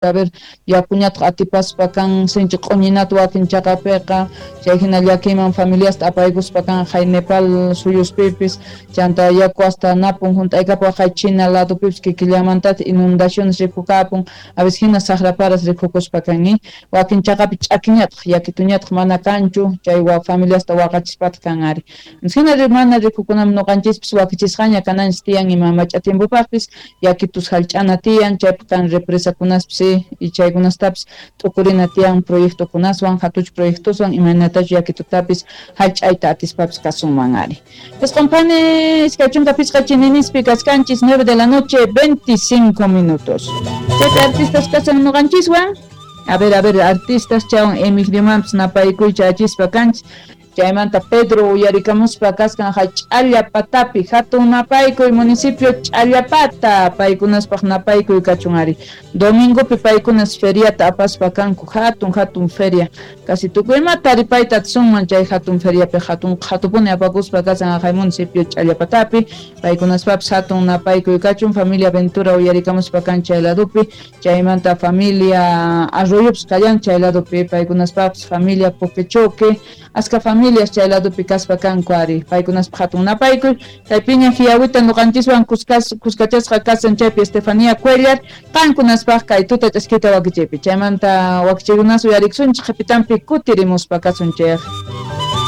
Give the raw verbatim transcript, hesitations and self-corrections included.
A ver, yakuñataq atipaspa kan sinchi q'uñinata wakin chaqapiqa, chay hina llakiyman familiasta apaykuspa kan hay Nepal suyuspipis, chanta yaku hasta napun junt'aykapu hay China ladupipis kikillamantata inundaciones rikukapun, a veces hina saqraparas rikukuspa kan, wakin chaqapi ch'akiñataq yakituñataq mana kanchu, chay wa familiasta waqachispataq kan ari. Hina mana rikukunam nuqanchispis wakichisqaña kananchis tiyan ima mach'a tiempopaqpis yakitus hallch'ana tiyan, chaypaq kan represakunaspis y chaykunastapis t'ukurina tiyan proyectokunaswan hatuch proyectoswan imaynatachu yakitutapis hallch'ayta atispapis kasunman ari. Isqunpani iskay chunka pichqa chininispi kaskanchis nueve de la noche veinticinco minutos. Chaypi artistas kasan nuqanchiswan. A ver, a ver, artistas chawan Emiliomanpis napaykuycha achispa kanchis. Chaymanta Pedro uyarikamuspa kaskan hay Ch'allapatapi hatun napaykuy municipio Ch'allapata paykunaspaq napaykuy kachun ari. Domingopi paykunas feriata apaspa kanku hatun hatun feria casi tukuy ima taripayta atisunman chay hatun feriapi hatun qhatupuni apakuspa kasan hay municipio Ch'allapatapi paykunaspapis hatun napaykuy kachun. Familia Ventura uyarikamuspa kan chay ladupi, chaymanta familia Arroyopis kallan chay ladupi paykunaspapis familia Poquechoque aska familias chay ladupi kaspa kanku ari paykunaspaq hatun napaykuy. Chaypiña hiyawita nuqanchiswan kuskachasqa kasan chaypi Estefanía Cuellar qankunaspaq kay tuta ch'askita wakichaypi chaymanta wakichaykunas uyarikusunchik qhipitanpi kutirimuspa kasunchik.